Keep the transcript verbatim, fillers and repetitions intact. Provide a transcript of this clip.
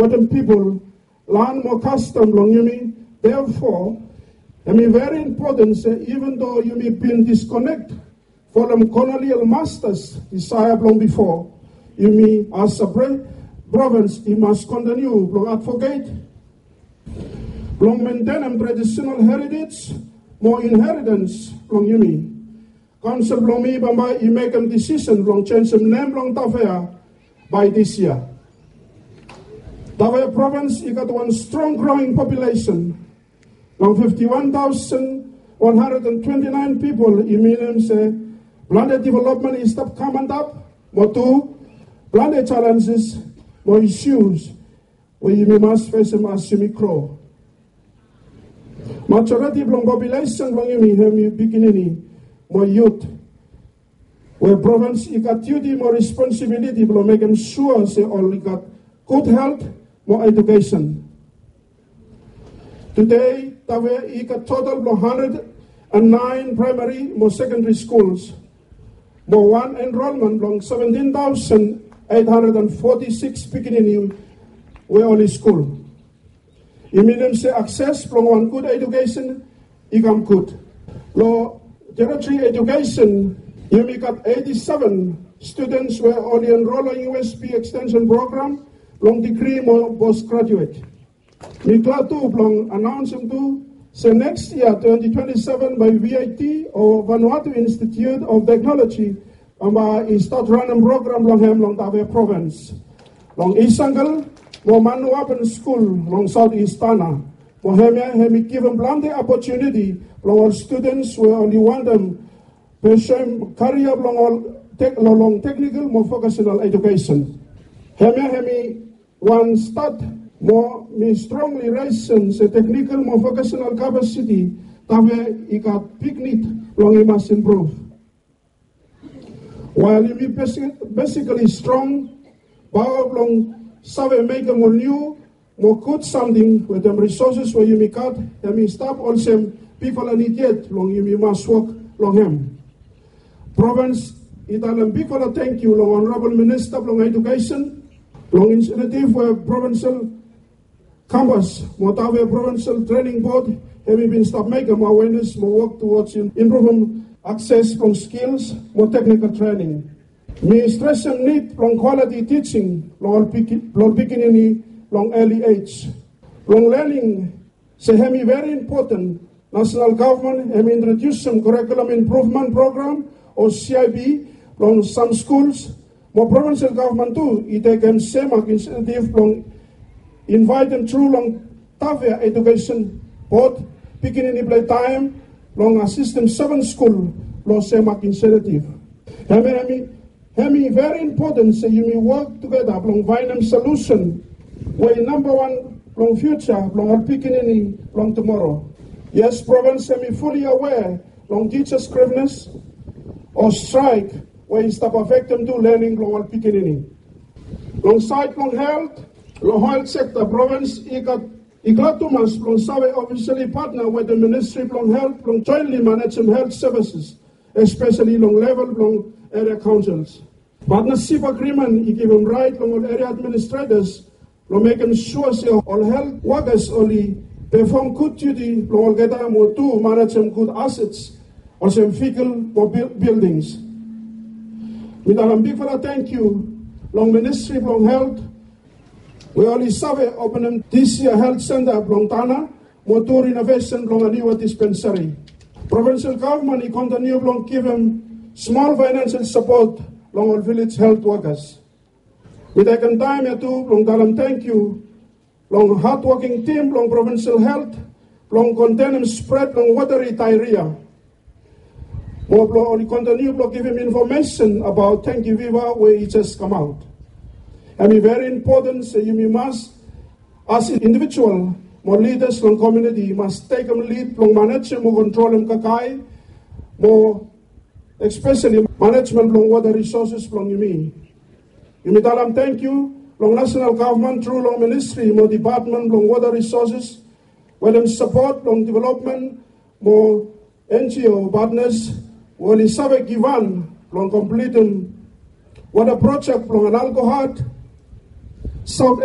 Wetem pipol, lan mo kastom blong yumi. Therefore, hemi very important se even though yumi bin disconnect from colonial masters desire blong before, yumi as a province i mas continue blong advocate blong maintainim traditional heritage mo inheritance blong yumi. Kaonsel blong mi bambae i mekem disisen blong jenisim nem blong Tafea bae dis yia. Tafea provins i gat wan strong growing population. Long fifti wan taosen wan handred and twenti naen pipol i minim se plante developmen i stap kam antap, mo tu plante jalenjes mo isius we yumi mas fesem as yumi gro. Majoriti blong populesen blong yumi hemi pikinini mo yut, we provins i gat diuti mo responsibiliti blong mekem sua se oli gat gud helt mo edukesen. Tede Tafea i gat total blong handred and naen praemari mo sekendari skuls, mo wan enrolmen blong seventin taosen eit handred and foti sikis pikinini we oli skul. I minim se akses blong wan gud edukesen i kam gud. Long teritori edukesen yumi gat eiti seven studens we oli enrol long U S P ekstensen program long digri mo pos grajuet. Mi glad tu blong anaonsem tu se neks yia twenti twenti seven bae V I T o Vanuatu Institute of Technology bambae i stat ranem program blong hem long Tafea provins, long East Jungle mo Manuapen skul long South East Tanna. Mo hemia hemi givim plante opotuniti blong ol studens we oli wantem pursuem karia blong ol long teknikol mo vokesenal edukesen. Hemia hemi wan stat mo mi strongli resem se teknikol mo vokesenal kapasiti Tafea i gat big nid blong i mas impruv. Wael yumi besikali strong paoa blong save mekem ol niu mo gud samting wetem risoses we yumi gat, hemi stap olsem bigfala nid yet blong yumi mas wok long hem. Provins i talem bigfala tangkiu long Honorabol Minista blong Edukesen long inisiativ we Provinsel Kampas mo Tafea Provinsel Trening Bod hemi bin stap mekem awenes mo wok tuwods impruvum akses blong skils mo teknikol trening. Mi stresem nid blong kwaliti tijing blong ol pikinini long eli ej blong lening se hemi veri impoten. Nasenal gavman hemi introdiusim kurikulum impruvmen program o C I P long sam skuls, mo provinsel gavman tu i tekem semak inisiativ blong invaetem tru long Tafea Edukesen Bod pikinini blong taem blong asistem seven skul long semak inisiativ. Hemi Hemi veri impoten se yumi wok tugeta blong faenem solusen we i nambawan blong fiuja blong ol pikinini blong tumoro. Yes, provins hemi fuli awea long tijas grivnes o straek we i stap afektem tu lening blong ol pikinini. Long saed blong helt, long helt sekta provins i gat i glad tumas blong save ofisali patna wetem Ministri blong Helt blong joentli manejem helt sevises, espesali long level blong eria kaonsels. Patnasip agrimen i givim raet long ol eria administretas blong mekem sua se ol helt wokas oli pefom gud diuti blong olgeta mo tu manejem gud asets olsem vihikol mo bildings. Mi talem bigfala tangkiu long Ministri blong Helt we oli save openem dis yia helt senta blong Tanna mo tu rinovesen blong niua dispensari. Provinsel gavman i kontiniu blong givim smol faenensel sapot long ol vilej helt wokas. Mi tekem taem ya tu blong talem tangkiu long hadwoking tim blong provinsel helt blong kontenem spred blong woteri daeria. Mo blong oli kontiniu blong givim infomesen abaot dengki fiva we i jes kamaot. Hemi veri impoten se yumi mas as indivijual mo lidas long komuniti mas tekem lid blong manejem mo kontrolem kakae mo espesali manejmen blong wota risoses blong yumi. Yumi talem tangkiu long nasenal gavman tru long ministri mo depatmen blong wota risoses wetem sapot blong developmen mo N G O patnas we oli save givhan blong komplitim wota projek blong Analgohat, Saot